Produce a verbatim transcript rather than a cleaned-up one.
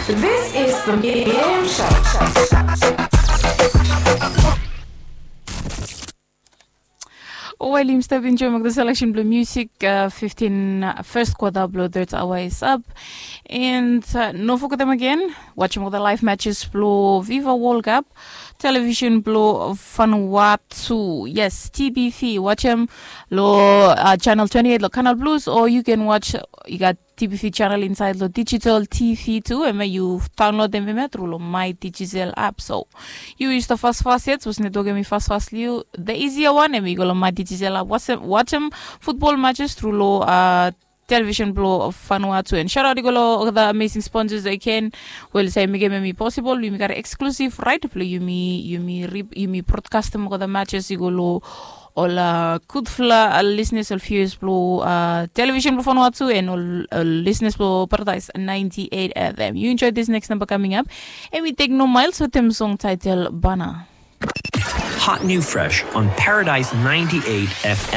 This is the Medium Show. Wel, yumi stap enjoim olgeta seleksen blong musik. Fiftin, fes kwata blong third aoa is ap. And no fogetem agen, wajem olgeta laev matches blong Viva World Cup, televisen blong Vanuatu. Yes, T B V, wajem long channel twenty eight long Canal Plus, o yu ken waj, i gat T B V channel insaed long digital T V tu, hemia yu daonlodem hemia tru long My Digicel app. So yu yu stap fasfas yet, sapos netwok hemi fasfas long yu, the easier one hemi go long My Digicel app, wajem futbol matches tru long televisen blong Vanuatu. And shout out i go long olgeta amazing sponsors agen we oli save mekem hemi posibol. Yumi gat eksklusiv raet blong yumi, yumi rip, yumi brodkastem olgeta matches i go long ol gudfala lisenas, ol viewers blong televisen blong Vanuatu, and ol lisenas blong Paradise ninety eight F M. Yu enjoy this next number coming up. Hemi Tekno Miles wetem song title Bana. Hot new fresh on Paradise ninety eight F M.